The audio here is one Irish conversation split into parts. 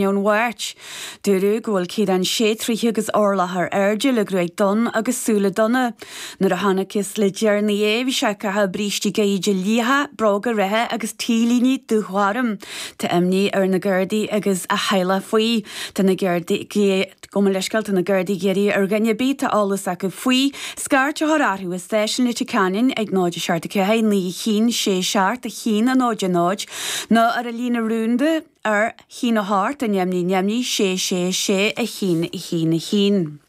Ón Mháirt. Dúradh go bhfuil Ciarán sé troithe agus orlach ar airde le gruaig donn agus súile donna. Nuair a chonacthas le deireanaí é bhí sé ag caitheamh brístí gaíde liatha, bróga reithe agus T-léine dúghorm. Tá imní ar na Gardaí agus a theaghlach faoi. Tá na Gardaí, gabh mo leithscéal, tá na Gardaí ag iarraidh ar dhuine ar bith atá eolas acu faoi, scairt a chur orthu i stáisiún Leitir Ceanainn ag 0 7 4 9 1 6 7 1 0 0 nó ar an líne rúnda ar 1 8 0 0 6 6 6 1 1 1.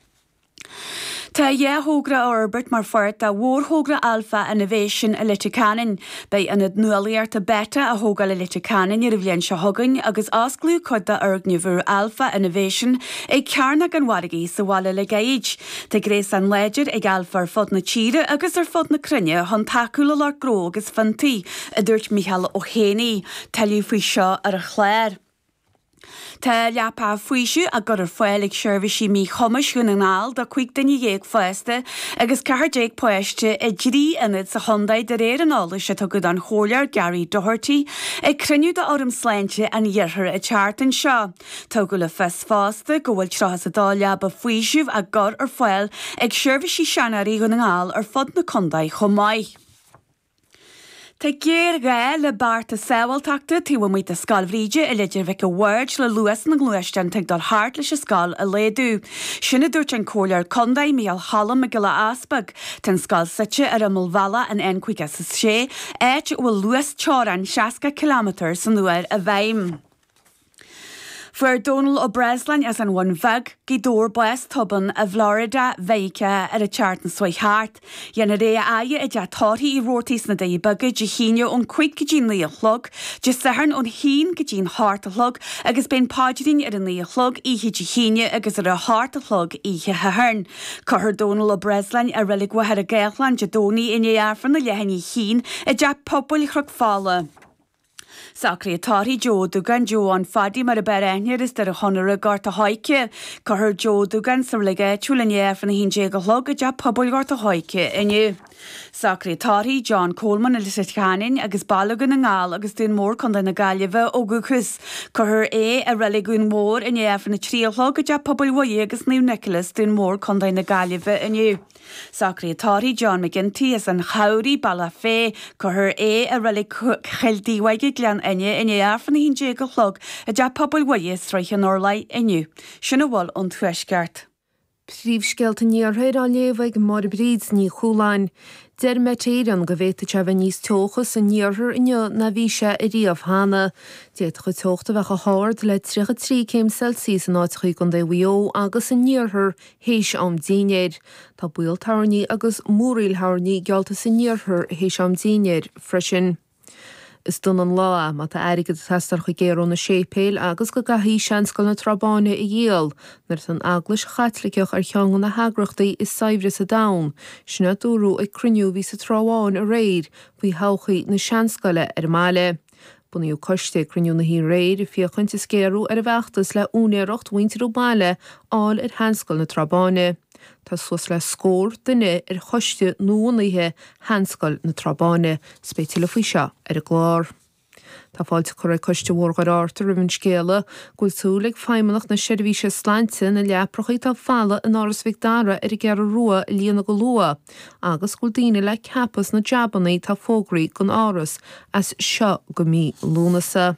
Tá 2 thogra á fhorbairt mar pháirt de mhórthogra Alpha Innovation i Leitir Ceanainn. Beidh ionad nuálaíochta Beta á thógáil i Leitir Ceanainn ar an bhliain seo chugainn agus osclaíodh cuid d'fhoirgneamh úr Alpha Innovation ag Cearnóg an Mhargaidh sa bhaile le gairid. Tá gréasán láidir ag Alpha ar fud na tíre agus ar fud na cruinne chun tacú le lucht gnó agus fiontaí, a dúirt Micheál Ó hÉanaí. Tuilleadh faoi seo ar an chlár. Tá leapacha faoisimh á gcur ar fáil ag Seirbhísí Míchumais Dhún na nGall do 15 duine fásta agus 14 páiste i dtrí ionad sa chontae de réir an eolais a tugadh don Chomhairleoir Gary Doherty ag cruinniú d'Fhóram Sláinte an Iarthair an tseachtain seo. Tugadh le fios fosta go bhfuil 32 leaba faoisimh á gcur ar fáil ag Seirbhísí Seanóirí Dhún na nGall ar fud na contae chomh maith. Tá géarghá le bearta sábháilteachta taobh amuigh de Scoil Bhríde i Leitir Mhic a' Bhaird le luas na ngluaisteán atá ag dul thart leis an scoil a laghdú. Sin a dúirt an Comhairleoir Contae, Micheál Cholm Mac Giolla Easpaig. Tá an scoil suite ar imeall bhealach an N56, áit a bhfuil luas teorann 60 ciliméadar san uair i bhfeidhm. Fuair Dónal Ó Breasláin as an Bhun Bheag, Gaoth Dobhair bás tobann i bhFlorida, Mheiriceá ar an tseachtain seo chuaigh thart. Dhéanfar é a fhaire i dTeach Tórraimh Uí Robhartaigh sna Doirí Beaga Dé hAoine ón 5 go dtí 9 a chlog, Dé Sathairn ón 1 go dtí an 8 a chlog agus beidh an paidrín ar a 9 a chlog oíche Dé hAoine agus ar a 8 a chlog oíche Shathairn. Cuirfear Dónal Ó Breasláin i Reilig Mhachaire Gathlán Dé Domhnaigh i ndiaidh Aifreann a leath i ndiaidh a haon i dTeach Pobail Chnoc Fola. Socruithe tórraimh Joe Ó Dúgáin, Joe An Phadaí mar a b'fhearr aithne air as Doire Chonaire, Gort a' Choirce. Cuirfear Joe Ó Dúgáin sa reilig áitiúil i ndiaidh Aifreann a 11 a chlog i dTeach Pobail Ghort a' Choirce inniu. Socruithe tórraimh John Coleman as Leitir Ceanainn agus Baile Dhún na nGall agus Dún Mór, Contae na Gaillimhe ó dhúchas. Cuirfear é i Reilig Dhún Mór i ndiaidh Aifreann a 3 a chlog i dTeach Pobail Mhuire agus Naomh Nicholas, Dún Mór, Contae na Gaillimhe inniu. Socruithe tórraimh John McGinty as an Chabhraigh, Bealach Féich, Cuirfear é i Reilig Chill Díobháige, Gleann Fhinne, i ndiaidh Aifreann 11 a chlog i dTeach Pobail Mhuire, Sraith an Urláir, inniu. Sin a bhfuil ón Tuaisceart. Príomhscéalta an Iarthair á léamh ag Máire Bríd Ní Chualáin. Deir Met Éireann go bhféadfadh sé a bheith níos teocha san iarthar inniu ná bhí sé ariamh cheana. D'fhéadfadh an teocht a bheith chomh hard le 33 céim Celsius in áiteacha i gContae Mhaigh Eo agus san iarthar théis am dinnéir. Tá baol toirní agus múraíl thoirní geallta san iarthar théis am dinnéir freisin. Is dona an lá é má tá airgead ag teastáil chuig géarú na séipéil agus go gcaithfí Seanscoil na Trá Báine a dhíol nuair atá an Eaglais Chaitliceach ar cheann de na heagrachtaí is saibhre sa domhan, sin a dúradh ag cruinniú a bhí sa Trá Bháin aréir faoi thodhchaí na Seanscoile ar an mbaile. Bunaíodh coiste ag cruinniú na hoíche aréir ag féachaint is géarú ar an bhfeachtas le úinéireacht mhuintir an bhaile a fháil ar Sheanscoil na Trá Báine. Tá suas le scór duine ar choiste nuabhunaithe Sheanscoil na Trá Báine. 'S beidh tuilleadh faoi seo ar an gclár. Tá fáilte curtha ag Coiste Bhóthar Dhoire Fhearta roimh an scéala go bhfuil súil ag Feidhmeannacht na Seirbhíse Slainte na leaprachaí atá folamh in Áras Mhic Dara ar an gCeathrú Rua a líonadh go luath agus go bhfuil daoine le ceapadh sna jabannaí atá fógraithe don Áras as seo go mí Lúnasa.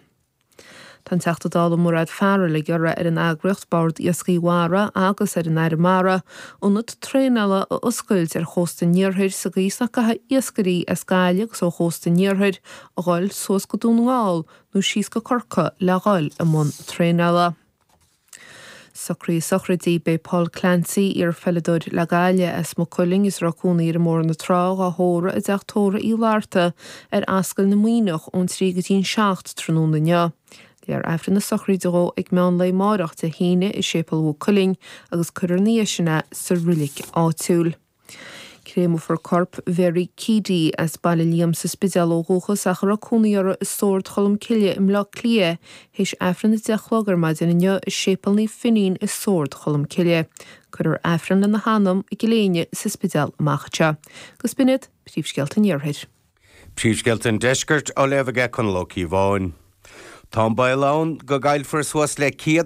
Tá an Teachta Dála Mairéad Farrell ag iarraidh ar an eagraíocht Bord Iascaigh Mhara agus ar an Aire Mara ionad traenála a oscailt ar chósta an iarthair sa gcaoi is nach gcaithfidh iascairí as Gaillimh agus ó chósta an iarthair a dhul suas go Dún na nGall nó síos go Corcaigh le dhul i mbun traenála. Socruithe sochraide, Beidh Paul Clancy, iar-pheileadóir le Gaillimh as Maigh Cuilinn is a raibh cónaí air i mBóthar na Trá, dhá thórramh i dteach tórraimh Uí Fhlatharta ar Ascaill na Muimhneach ón 3 go dtí an 7 tráthnóna inniu. Léifear Aifreann na sochraide dhó ag meán lae amáireach Dé hAoine i Séipéal Mhaigh Cuilinn agus cuirfear ina dhiaidh sin é sa roilig áitiúil. Créamfar corp Mhary Keady, as Baile Liam sa Spidéal ó dhúchas ach a raibh cónaí uirthi i Sord Cholm Cille i mBleá Cliath, théis Aifreann a 10 a chlog ar maidin inniu i Séipéal Naomh Finín i Sord Cholm Cille. Cuirfear Aifreann lena hanam i gCill Éinne sa Spidéal amach anseo. Agus b'in iad príomhscéalta an Iarthair. Príomhscéalta an Deiscirt á léamh aige Conall Ó Cíobháin. Tá an baol ann go gcaillfear suas le 100.